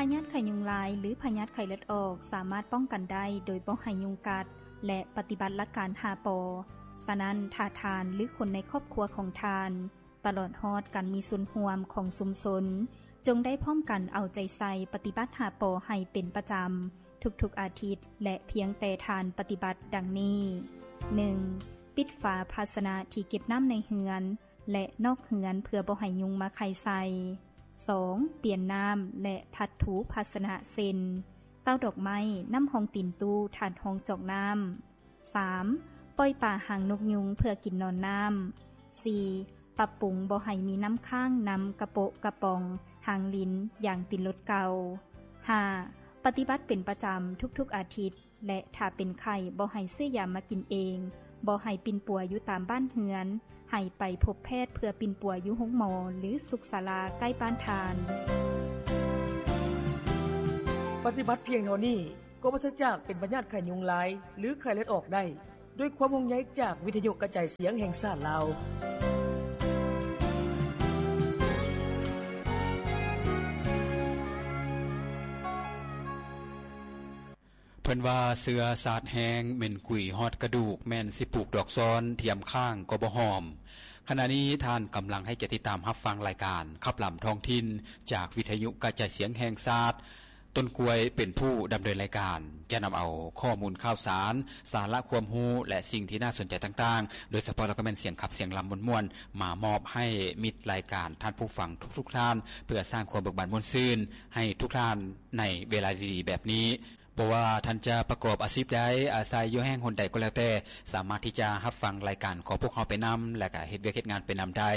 ພະຍາດໄຂ້ຍຸງລາຍ ຫຼື ພະຍາດໄຂ້ເລືອດອອກ ສາມາດປ້ອງກັນໄດ້ໂດຍບໍ່ໃຫ້ຍຸງກັດ ແລະ ປະຕິບັດຫຼັກການຫ້າ ປ. ສະນັ້ນ, ຖ້າທ່ານ ຫຼື ຄົນໃນຄອບຄົວຂອງທ່ານ ຕະຫຼອດຮອດການມີສ່ວນຮ່ວມຂອງຊຸມຊົນ ຈົ່ງໄດ້ພ້ອມກັນເອົາໃຈໃສ່ປະຕິບັດຫ້າ ປ ໃຫ້ເປັນປະຈຳທຸກໆອາທິດ ແລະ ພຽງແຕ່ທ່ານປະຕິບັດດັ່ງນີ້: ໜຶ່ງ ປິດຝາພາຊະນະທີ່ເກັບນ້ຳໃນເຮືອນ ແລະ ນອກເຮືອນເພື່ອບໍ່ໃຫ້ຍຸງມາໄຂ່ໃສ່. ສອງ ປ່ຽນນ້ຳ ແລະ ພັດຖູພາຊະນະ ເຊັ່ນ ເຕົ້າດອກໄມ້, ນ້ຳຮອງຕີນຕູ້, ຖາດຮອງຈອກນ້ຳ. ສາມ ປ່ອຍປາຫາງນົກຍຸງເພື່ອກິນນອນນ້ຳ. ສີ່ ປັບປຸງບໍ່ໃຫ້ມີນ້ຳຄ້າງນຳກະໂປະກະປ໋ອງ, ຫາງລິນ, ຢາງຕີນລົດເກົ່າ. ຫ້າ ປະຕິບັດເປັນປະຈຳທຸກໆອາທິດ ແລະ ຖ້າເປັນໄຂ້ ບໍ່ໃຫ້ຊື້ຢາມາກິນເອງ, ບໍ່ໃຫ້ປິ່ນປົວຢູ່ຕາມບ້ານເຮືອນ, ໃຫ້ໄປພົບແພດເພື່ອປິ່ນປົວຢູ່ໂຮງໝໍ ຫຼື ສຸກສາລາໃກ້ບ້ານທ່ານ. ປະຕິບັດພຽງເທົ່ານີ້ ກໍປາສຈາກເປັນພະຍາດໄຂ້ຍຸງລາຍ ຫຼື ໄຂ້ເລືອດອອກໄດ້ ດ້ວຍຄວາມຫ່ວງໃຍຈາກວິທະຍຸກະຈາຍສຽງແຫ່ງຊາດລາວ. ເພິ່ນວ່າເຊື້ອຊາດແຮງ ເໝັນກຸຍຮອດກະດູກ ແມ່ນຊິປູກດອກຊອນ ທຽມຂ້າງກໍບໍ່ຫອມ. ຂະນະນີ້ທ່ານກຳລັງໃຫ້ກຽດຕິດຕາມຮັບຟັງລາຍການຂັບລຳທ້ອງຖິ່ນ ຈາກວິທະຍຸກະຈາຍສຽງແຫ່ງຊາດ. ຕົ້ນກ້ວຍເປັນຜູ້ດຳເນີນລາຍການ ຈະນຳເອົາຂໍ້ມູນຂ່າວສານ, ສາລະຄວາມຮູ້ ແລະ ສິ່ງທີ່ໜ້າສົນໃຈຕ່າງໆ ໂດຍສະເພາະແລ້ວກໍແມ່ນສຽງຂັບສຽງລຳມ່ວນໆ ມາມອບໃຫ້ມິດລາຍການທ່ານຜູ້ຟັງທຸກໆທ່ານ ເພື່ອສ້າງຄວາມເບີກບານມ່ວນຊື່ນໃຫ້ທຸກທ່ານໃນເວລາດີໆແບບນີ້. ບໍ່ວ່າທ່ານຈະປະກອບອາຊີບໃດ, ອາໄສຢູ່ແຫ່ງຫົນໃດກໍແລ້ວແຕ່, ສາມາດທີ່ຈະຮັບຟັງລາຍການຂອງພວກເຮົາໄປນຳ ແລະ ກະເຮັດວຽກເຮັດງານໄປນຳໄດ້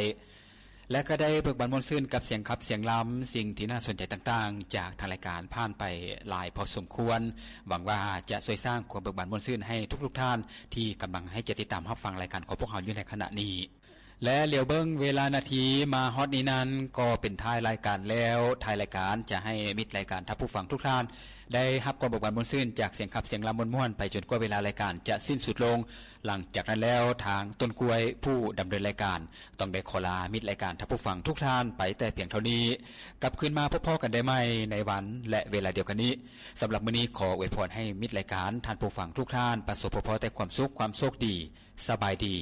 ແລະ ກະໄດ້ເບີກບານມ່ວນຊື່ນກັບສຽງຂັບສຽງລຳ, ສິ່ງທີ່ໜ້າສົນໃຈຕ່າງໆ ຈາກທາງລາຍການຜ່ານໄປຫຼາຍພໍສົມຄວນ. ຫວັງວ່າຈະຊ່ວຍສ້າງຄວາມເບີກບານມ່ວນຊື່ນໃຫ້ທຸກໆທ່ານ ທີ່ກຳລັງໃຫ້ກຽດຕິດຕາມຮັບຟັງລາຍການຂອງພວກເຮົາຢູ່ໃນຂະນະນີ້. ແລະ ຫຼຽວເບິ່ງເວລານາທີມາຮອດນີ້ນັ້ນ ກໍເປັນທ້າຍລາຍການແລ້ວ. ທ້າຍລາຍການຈະໃຫ້ມິດລາຍການທ່ານຜູ້ຟັງທຸກທ່ານ ໄດ້ຮັບຄວາມເບີກບານມ່ວນຊື່ນຈາກສຽງຂັບສຽງລຳມ່ວນໆ ໄປຈົນກວ່າເວລາລາຍການຈະສິ້ນສຸດລົງ. ຫຼັງຈາກນັ້ນແລ້ວ ທາງຕົ້ນກ້ວຍຜູ້ດຳເນີນລາຍການ ຕ້ອງໄດ້ຂໍລາມິດລາຍການທ່ານຜູ້ຟັງທຸກທ່ານໄປແຕ່ພຽງເທົ່ານີ້. ກັບຄືນມາພົບພໍ້ກັນໄດ້ໃໝ່ໃນວັນ ແລະ ເວລາດຽວກັນນີ້. ສຳລັບມື້ນີ້ຂໍອວຍພອນໃຫ້ມິດລາຍການທ່ານຜູ້ຟັງທຸກທ່ານ ປະສົບພົບພໍ້ແຕ່ຄວາມສຸກ, ຄວາມໂຊກດີ. ສະບາຍດີ.